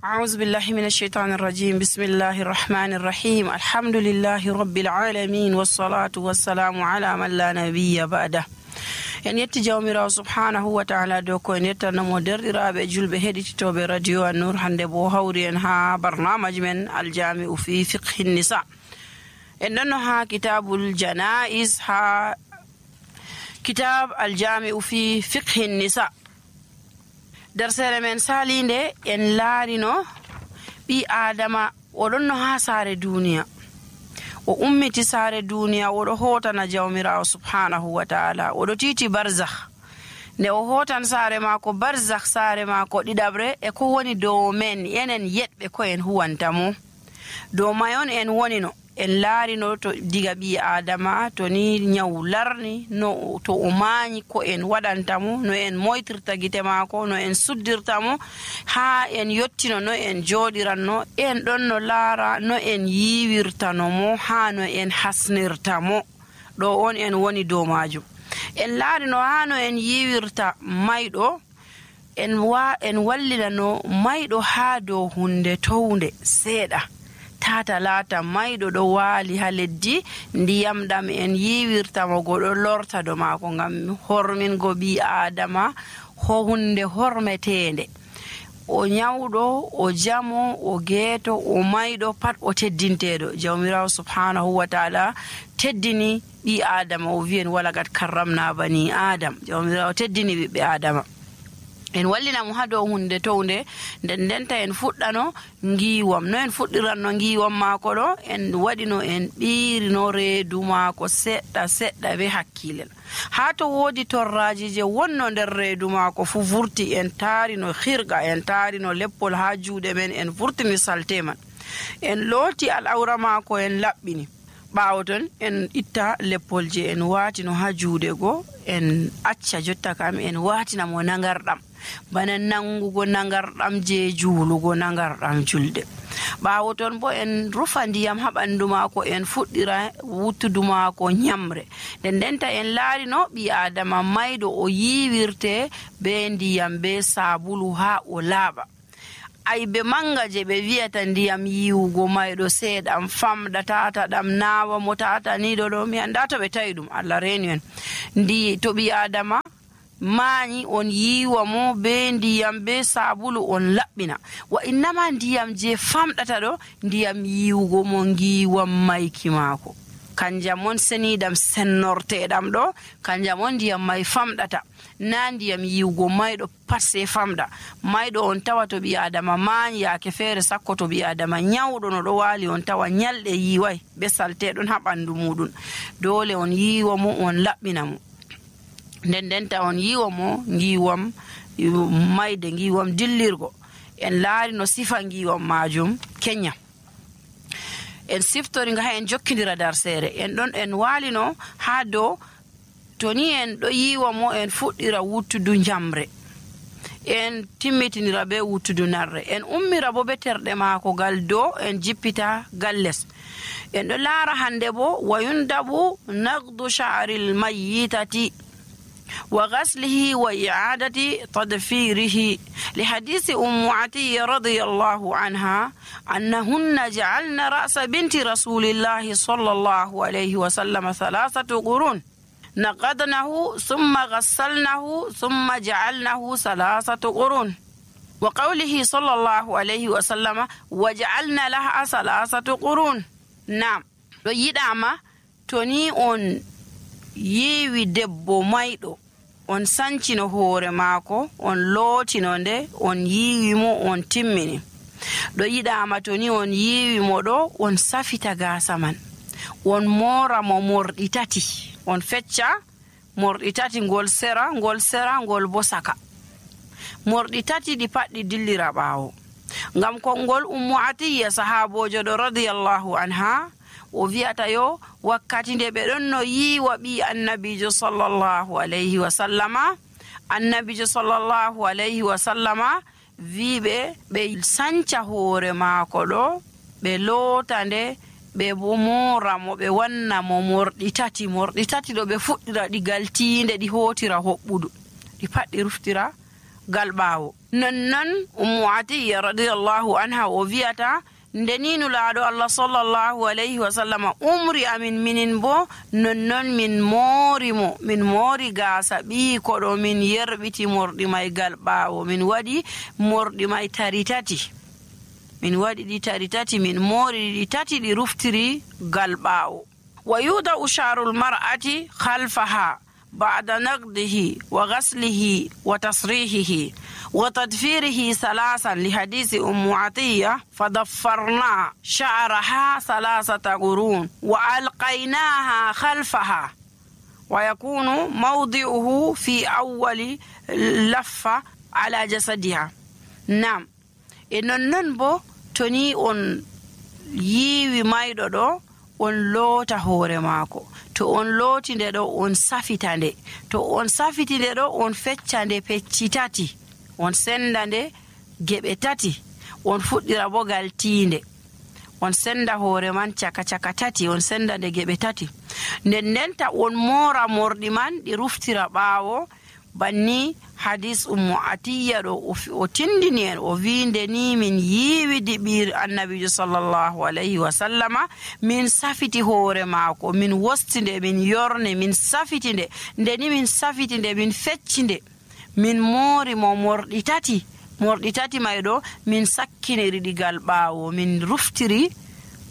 أعوذ بالله من الشيطان الرجيم. بسم الله الرحمن الرحيم. الحمد لله رب العالمين والصلاة والسلام على من لا نبي بعده. en yetti jawmirawo subhanahu wa ta'ala dow ko en yettanamo derɗiraɓe julɓe heɗititoɓe radio An-Nur. hande bo hawri en ha barnamaji men aljami'u fi fiqhi nisa. en ɗonno ha kitabul janaiz, ha kitab aljami'u fi fiqhi nisa. dersere men salinde en laarino ɓi adama oɗonno ha saare duniya, o ummiti saare duniya, oɗo hotana jawmirawo subhanahu wa ta'ala, oɗo titi barzakh. nde o hotan saare mako barzakh, saare mako ɗiɗabre e ko woni dow men enen yeɗɓe ko en huwantamo dow mayon en wonino. en laarino to diga ɓi adama to ni nyawu larni, no to o mañi ko en waɗantamo, no en moytirta gite mako, no en suddirtamo, ha en yottino no en joɗiranno. en ɗon no laara no en yiwirtanomo, ha no en hasnirtamo. ɗo on en woni dow majum. en laarino ha no en yiwirta mayɗo, en wallinano mayɗo ha dow hunde townde seeɗa, tata laata mayɗo ɗo waali ha leddi, ndiyam ɗam en yiwirtamo goɗo lorta do maako, ngam hormingo ɓi adama ho hunde hormetende. o nyawɗo, o jamo, o geeto, o mayɗo, pat o teddinteɗo. jawmirawo subhanahu wa ta'ala teddini ɓi adama, o wiyen walagat karramna bani adam. jawmirawo teddini ɓiɓɓe adama. en wallinamo ha dow hunde townde, nden denta en fuɗɗano ngiwam. no en fuɗɗiranno ngiwam maako ɗo, en waɗino en ɓiirino reedu maako seɗɗa seɗɗa be hakkilel. ha to woodi torraji je wonno nder reedu maako fu vurti, en taarino hirga, en taarino leppol ha juuɗe men, en vurtini salte man, en looti al'aura maako, en laɓɓini. ɓaawo ton en itta leppol je en waatino ha juuɗe go, en acca jotta kam en waatina mo nangarɗam, bana nangugo nangarɗam je juulugo nangarɗam julde. ɓaawo ton bo en rufa ndiyam ha ɓandu maako, en fuɗɗira wuttudu maako nyamre. nden denta en laarino ɓi adama mayɗo o yiwirte be ndiyam be sabulu ha o laaɓa. aybe manga je ɓe wiyata ndiyam yiwugo mayɗo seeɗam famɗa, tata ɗam nawa mo, tata ni ɗo mi anda to ɓe tawi ɗum, Allah reeni en. ndi to ɓi adama mañi, on yiwa mo be ndiyam be sabulu, on laɓɓina. wa innama ndiyam je famɗata ɗo, ndiyam yiwugo mo ngiwam mayki maako, kanjam on seniɗam sennorteɗam ɗo, kanjam on ndiyam may famɗata, na ndiyam yiwugo mayɗo pat se famɗa. mayɗo on tawa to ɓi adama mañi, yaake feere sakko to ɓi adama nyawɗo no ɗo waali, on tawa nyalɗe yiway be salteɗon ha ɓandu muɗum. dole on yiwa mo, on laɓɓina mo. nden denta on yiwa mo ngiwam mayde, ngiwam dillirgo. en laari no sifa ngiwam majum kenya. en siftori nga ha en jokkidira darsere. en ɗon en waalino ha dow to ni en ɗo yiwa mo, en fuɗɗira wuttudu njamre, en timmitinira be wuttudu narre, en ummira bo be terɗe maako gal dow, en jippita gal les. en ɗo laara hande bo wayundabu nagdu sha'ril mayyitati وغسله وإعادة تضفيره لحديث أم عطية رضي الله عنها أنهن جعلن رأس بنت رسول الله صلى الله عليه وسلم 3 قرون نقضنه ثم غسلنه ثم جعلنه 3 قرون وقوله صلى الله عليه وسلم وجعلنا لها 3 قرون. نعم يدعم توني on yiwi debbo mayɗo, on sancino hoore maako, on lootino nde, on yiwi mo, on timmini. ɗo yiɗama to ni on yiwi mo ɗo, on safita gaasa man, on moora mo morɗi 3, on fecca morɗi 3, ngol sera ngol bo saka. morɗi 3 ɗi pat ɗi dillira ɓaawo, ngam konngol Ummu Atiyya sahabojo ɗo radiyallahu anha o wi'ata yo wakkati nde ɓe ɗon no yiwa ɓi annabijo sallallahu alayhi wa sallama, annabijo sallallahu alayhi wa sallama wiɓe ɓe sanca hoore maako ɗo, ɓe loota nde, ɓe bo moora mo, ɓe wanna mo morɗi 3. morɗi 3 ɗo ɓe fuɗɗira ɗi gal tiinde, ɗi hootira hoɓɓudu, ɗi pat ɗi ruftira gal ɓaawo. nonnon Ummu Atiyya radiyallahu anha o wi'ata ndeni nulaaɗo Allah sallallahu alayhi wa sallama umri amin minin bo nonnon min moori gaasa ɓiiko ɗo min yerɓiti morɗi may gal ɓaawo min waɗi morɗi may tari tati min waɗi ɗi tari tati min moori ɗi tati ɗi ruftiri gal ɓaawo wa yuda'u sharul mar'ati khalfaha ba'da naqdihi wa ghaslihi wa tasrihihi وتدفيره ثلاثا لحديث أم عطية فضفرنا شعرها 3 قرون وألقيناها خلفها ويكون موضعه في أول لفة على جسدها. نعم إنن بو توني on yiwi mayɗo ɗo on loota hoore maako to on looti nde ɗo on safita nde to on safiti nde ɗo on fecca nde pecci tati on senda nde geɓe tati on fuɗɗira bo gal tiinde on senda hoore man caka tati on senda nde geɓe tati nden ndenta on moora morɗi man ɗi ruftira ɓaawo banni hadis Ummu Atiyya ɗo o tindini en o wiinde ni min yiiwi diɓir annabijo sallallahu alayhi wa sallama min safiti hoore maako min wosti nde min yorne min safiti nde ndeni min safiti nde min fecci nde min moori mo morɗi tati may ɗo min sakkiniri ɗi gal ɓaawo min ruftiri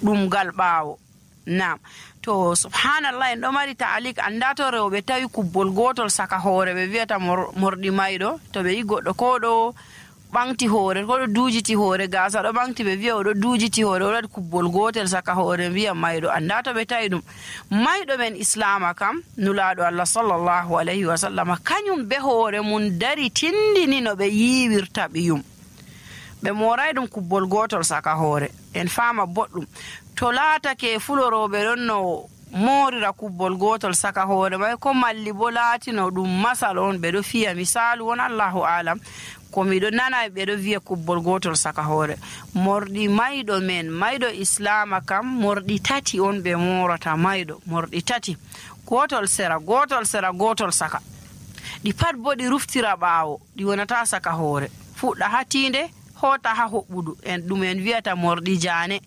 ɗum gal ɓaawo. Naam to subhanallah en ɗo mari ta'alik anda to rewɓe tawi kubbol gotol saka hoore ɓe wiyata morɗi mayɗo to ɓe yi goɗɗo ko ɗo ɓamti hoore ko ɗo duujiti hoore gaasa ɗo ɓamti ɓe wiya oɗo duujiti hoore oɗo waɗi kubbol gotel saka hoore wiya mayɗo anda to ɓe tawi ɗum mayɗo men islama kam nulaaɗo Allah sallallahu alayhi wa sallama kañum be hoore mum dari tindini no ɓe yiiwirta ɓiyum ɓe moray ɗum kubbol gotol saka hoore en faama boɗɗum to laatake fuloroɓe ɗon no moorira kubbol gotol saka hoore may ko malli bo laatino ɗum masal on ɓeɗo fiya misalu won Allahu alam ko miɗo nana ɓeɗo wiya kubbol gotol saka hoore morɗi mayɗo men mayɗo islama kam morɗi tati on ɓe morata mayɗo morɗi tati gotol sera gotol saka ɗi pat bo ɗi ruftira ɓaawo ɗi wonata saka hoore fuɗɗa ha tiinde hota ha hoɓɓudu en ɗum en wiyata morɗi jaane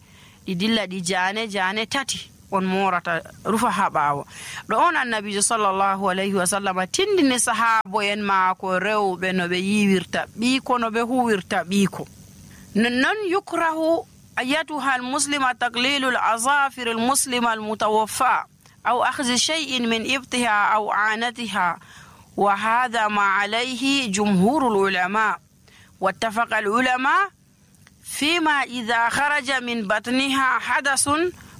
ɗi dilla ɗi jaane tati on morata rufa ha ɓaawo ɗo on annabijo sallallahu alayhi wa sallam tindini sahabo en maako rewɓe no ɓe yiwirta ɓiiko no ɓe huwirta ɓiiko nonnon yukrahu ayatuha almuslima taqlilu alazafir almuslima almutawaffa aw akhzi shay'in min ibtiha aw anatiha wa hadha ma alayhi jumhur alulama wattafaqa alulama فيما إذا خرج من بطنها حدث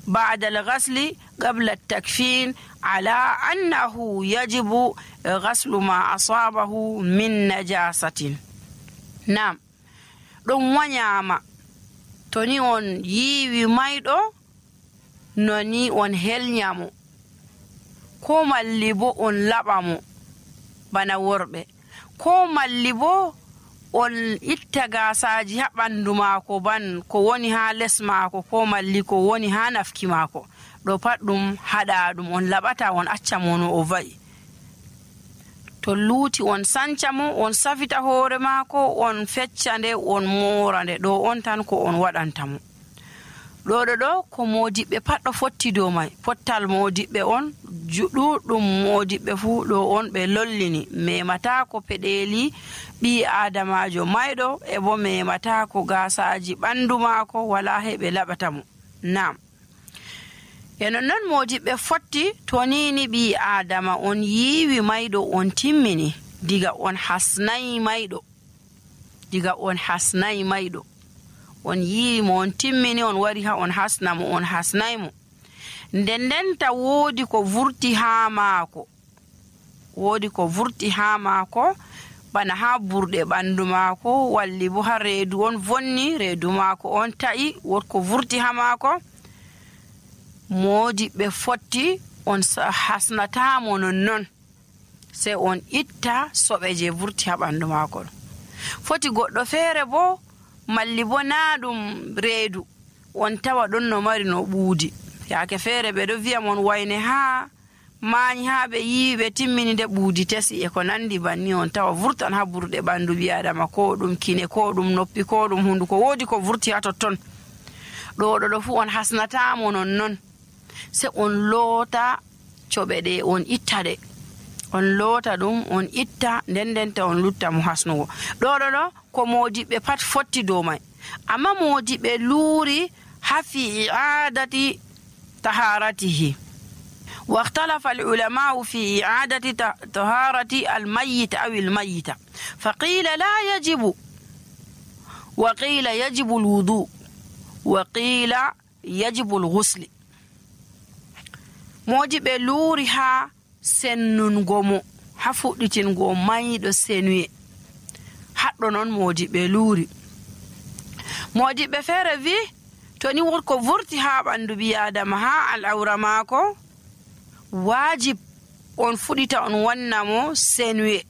بعد الغسل قبل التكفين على أنه يجب غسل ما أصابه من نجاسة. نعم ɗum wanyama to ni on yiwi mayɗo no ni on helnyamo ko malli bo on laɓamo bana worɓe ko malli bo on itta gasaji ha ɓandu maako ban ko woni ha les maako ko malli ko woni ha nafki maako ɗo pat ɗum haɗa ɗum on laɓata on acca mo no o va'i to luuti on sanca mo on safita hoore maako on fecca nde on moora nde ɗo on tan ko on waɗanta mo ɗo ko modiɓɓe pat ɗo fotti dow may pottal modiɓɓe on ɗuɗɗum modiɓɓe fuu ɗo on ɓe lollini memata ko peɗeli ɓi adamajo mayɗo e bo memata ko gasaji ɓandu maako wala heɓe laɓata mo. Nam e non modiɓɓe fotti to nini ɓi adama on yiwi mayɗo on timmini diga on hasnayi mayɗo on yiwi mo on timmini on wari ha on hasna mo on hasnay mo ndendenta woodi ko vurti ha maako bana ha burɗe ɓandu maako walli bo ha reedu on vonni reedu maako on ta'i wot ko vurti ha maako modiɓɓe fotti on hasnatamo nonnon sei on itta soɓe je vurti ha ɓandu maako foti goɗɗo feere bo malli bo na ɗum reedu on tawa ɗon no mari no ɓuudi yaake feere ɓe ɗo wi'a mon wayne ha maani haa ɓe yiwi ɓe timmini nde ɓuudi tesi e ko nandi banni on tawa vurtan ha burɗe ɓandu ɓi adama, ko ɗum kine, ko ɗum noppi, ko ɗum hunduko, woodi ko vurti ha totton. ɗo fu on hasnatamo nonnon, se on loota coɓe ɗe on itta ɗe, on loota ɗum on itta, ndendenta on lutta mo hasnugo. ɗo ko modiɓɓe pat fotti dow may, amma modiɓɓe luuri ha fi i'adati taharatihi. واختلف العلماء في إعادة طهارة الميت أو الميتة، فقيل لا يجب، وقيل يجب الوضوء، وقيل يجب الغسل. modiɓe luuri ha sennungo mo, ha fuɗɗitingo mayɗo senuye, haɗɗo noon modiɓe luuri. modiɓɓe feere wi to ni wonko vurti ha ɓandu ɓi adama ha al'aura maako, wajib on fuɗita on wanna mo senuye,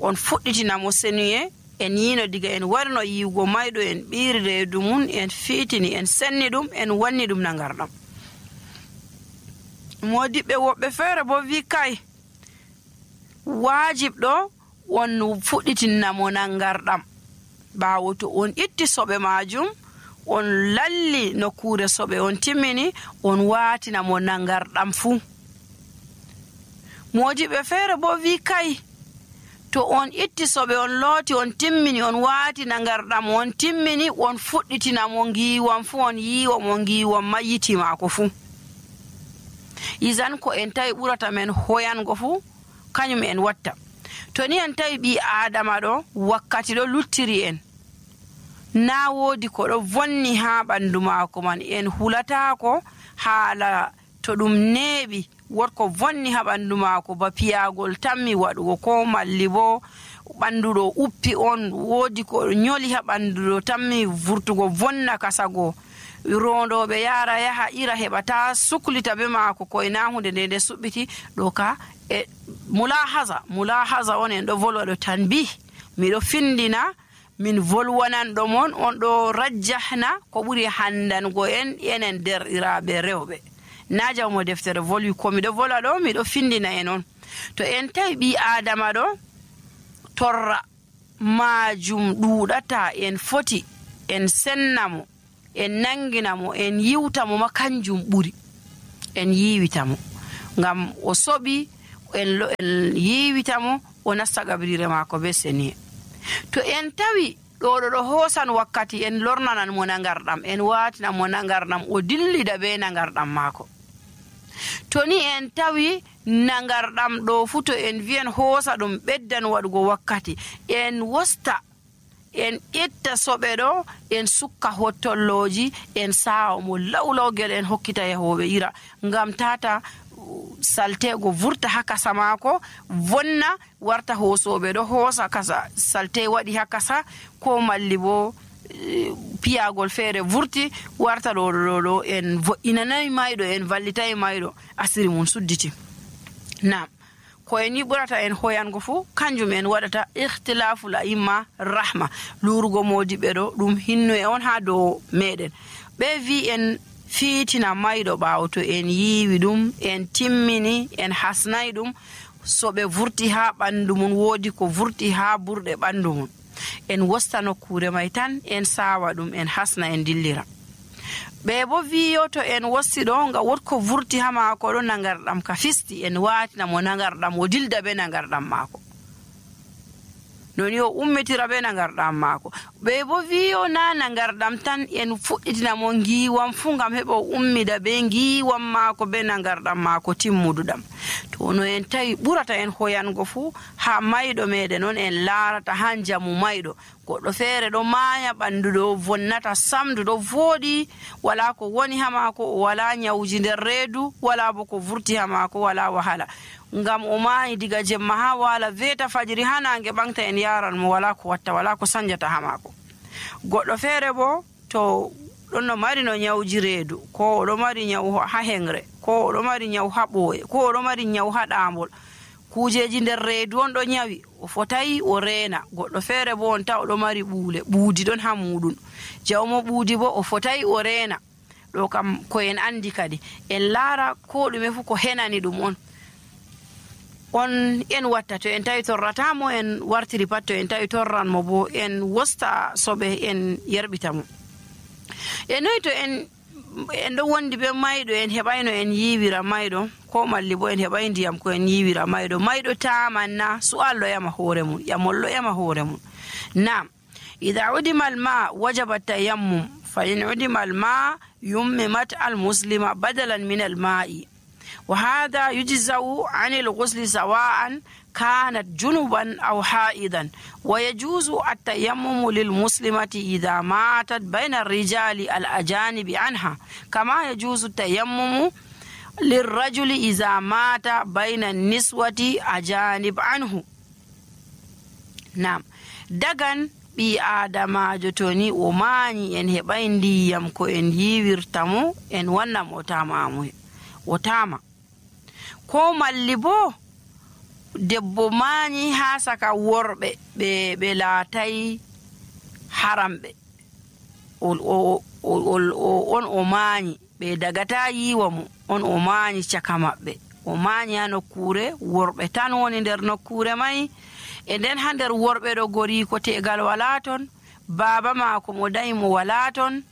on fuɗɗitina mo senuye. en yino diga en warno yiwgo mayɗo, en ɓiiri reedu mum, en fiitini, en senni ɗum, en wanni ɗum nangarɗam. modiɓɓe woɓɓe feere bo wi kay wajib ɗo on fuɗɗitinna mo nangarɗam, ɓaawo to on itti soɓe majum, on lalli nokkure soɓe, on timmini, on waatina mo nangarɗam fuu. modiɓɓe feere bo wi kay to on itti soɓe, on looti, on timmini, on waati nangarɗam, on timmini, on fuɗɗitina mo ngiiwam fuu, on yiiwa mo ngiiwam mayyiti maako fuu. isan ko en tawi ɓurata men hoyango fuu kañum en watta. to ni en tawi ɓi adama ɗo wakkati ɗo luttiri en, na woodi ko ɗo vonni ha ɓandu maako man, en hulatako haala to ɗum neeɓi wotko vonni ha ɓandu maako, ba piyagol tammi waɗugo, ko malli bo ɓandu ɗo uppi on, woodi ko nyoli ha ɓandu ɗo tammi vurtugo vonna kasago, rondoɓe yara yaha ira heɓata suklita be maako koyna hunde nde suɓɓiti ɗo ka e mulahaza on en ɗo volwa ɗo tanbih, miɗo findina min volwanan ɗo mon, on ɗo rajjahna ko ɓuri handango en enen derɗiraɓe rewɓe. na jawmo deftere volwi, ko miɗo volwa ɗo miɗo findina en on. to en tawi ɓi adama ɗo torra majum ɗuɗata, en foti en sennamo, en nanginamo, en yiwtamo ma kanjum ɓuri, en yiwitamo ngam o soɓi, en yiwitamo o nasta gabrire maako be seniye. to en tawi ɗo hoosan wakkati, en lornanan mo nangarɗam, en waatinan mo nangarɗam, o dillida be nangarɗam maako. to ni en tawi nangarɗam ɗo fu, to en wiyen hoosa ɗum ɓeddan waɗugo wakkati, en wosta, en itta soɓe ɗo, en sukka hottolloji, en sawa mo lawlawgel, en hokkita yahoɓe ira, ngam tata saltego vurta ha kasa maako, vonna warta hoosoɓe ɗo hoosa kasa salte waɗi ha kasa, ko malli bo piyagol feere vurti warta ɗo en vo'inanayi mayɗo, en vallitayi mayɗo, asiri mum sudditi. nam ko en yiɓurata en hoyango fuu kanjum en waɗata ikhtilafu la imma rahma, lurugo modiɓe ɗo ɗum hinno e on ha dow meɗen. ɓe vi en fiitina mayɗo ɓaawo to en yiiwi ɗum, en timmini, en hasnayi ɗum, so ɓe vurti ha ɓandu mum, woodi ko vurti ha burɗe ɓandu mum, en wosta nokkure may tan, en sawa ɗum, en hasna, en dillira. ɓe bo wiyo to en wosti ɗo nga wotko vurti ha maako ɗo nangarɗam ka fisti, en waatina mo nangarɗam, o dilda be nangarɗam maako, noni o ummitira be nangarɗam maako. ɓe bo wiyo na nangarɗam tan, en fuɗɗitina mo ngiwam fu ngam heɓa o ummida be ngiwam maako be nangarɗam maako timmuduɗam. to no en tawi ɓurata en hoyango fu ha mayɗo meɗen on, en laarata ha jamu mayɗo, goɗɗo feere ɗo maaya ɓandu ɗo vonnata samdu ɗo vooɗi, wala ko woni ha maako, o wala nyawji nder reedu, wala bo ko vurti ha maako, wala wahala, ngam o maayi diga jemma ha wala veta fajiri ha nange ɓangta, en yaran mo, wala ko watta, wala ko sanjata ha maako. goɗɗo feere bo to ɗon no mari no nyawji reedu, ko oɗo mari nyawu ha hengre, ko oɗo mari nyawu ha ɓooye, ko oɗo mari nyawu ha ɗaambol, kujeji nder reedu on ɗo nyawi, o fotayi o reena. goɗɗo feere bo on taw oɗo mari ɓuule, ɓuudi ɗon ha muɗum, jawmo ɓuudi bo o fotayi o reena. ɗo kam ko en andi kadi en laara ko ɗume fu ko henani ɗum on en watta. To en tawi torratamo en wartiri pat, to en tawi torranmo bo en wosta soɓe en yerɓita mo. E noyi to en ɗo wondi be mayɗo en heɓayno en yiwira mayɗo, ko malli bo en heɓay ndiyam ko en yiwira mayɗo tamanna su'al ɗo yama hoore mum, yamol ɗo yama hoore mum. Naam, idha udima alma wajaba tayammum fa in udima alma yummimat almuslima badalan min alma'i wa hadha yujza'u 'ani alghusli sawa'an kanat junuban aw ha'idan wa yajuzu at-tayammum lilmuslimati idha matat bayna ar-rijali al-ajanibi anha kama yajuzu at-tayammum lirrajuli idha mata bayna an-niswati ajanib anhu. Naam, dagan ɓi adamajo to ni o mañi en heɓay ndiyam ko en yiwirtamo en wannam o tama, ko malli bo debbo mañi ha saka worɓe ɓe laatay haramɓe on o mañi ɓe dagata yiwa mo, on o mañi caka maɓɓe, o mañi ha nokkure worɓe tan woni nder nokkure may. E nden ha nder worɓe ɗo goriko tegal wala ton, baba maako mo dañi mo wala ton,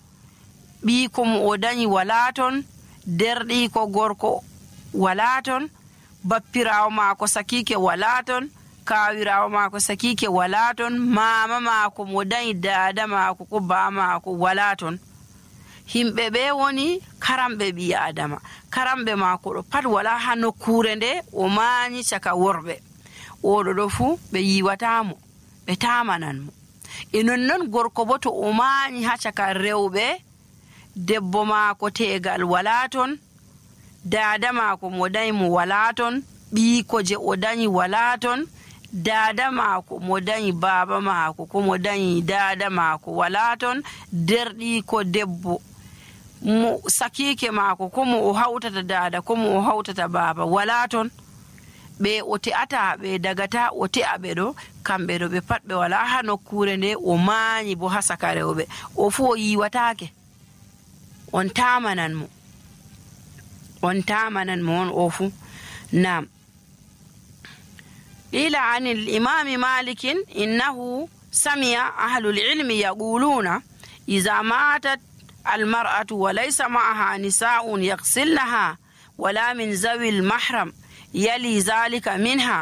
ɓiiko mo o dañi wala ton, derɗiko gorko wala ton, bappirawo maako sakike wala ton, kawirawo maako sakike wala ton, mama maako mo dañi dada maako ko baba maako wala ton. Himɓe ɓe woni karamɓe ɓi adama, karamɓe maako ɗo pat wala ha nokkure nde o mañi caka worɓe. Oɗo ɗo fu ɓe yiwatamo, ɓe tamanan mo. E nonnon gorko bo to o mañi ha caka rewɓe, debbo maako tegal wala ton, dada maako mo dañi mo wala ton, ɓiiko je o dañi wala ton, dada maako mo dañi baba maako ko mo dañi dada maako wala ton, derɗiko debbo mo sakike maako ko mo o hawtata dada ko mo o hawtata baba wala ton. Ɓe o te'ata ɓe dagata o te'a ɓe ɗo, kamɓe ɗo ɓe pat ɓe wala ha nokkure nde o mañi bo ha saka rewɓe, o fu o yiwatake, on tamanan mo on o fu. Naam, qila an al-imam Malik innahu sami'a ahlul ilmi yaquluna idha matat al-mar'atu wa laysa ma'aha nisa'un yaghsilnaha wala min zawi al-mahram يلي ذلك منها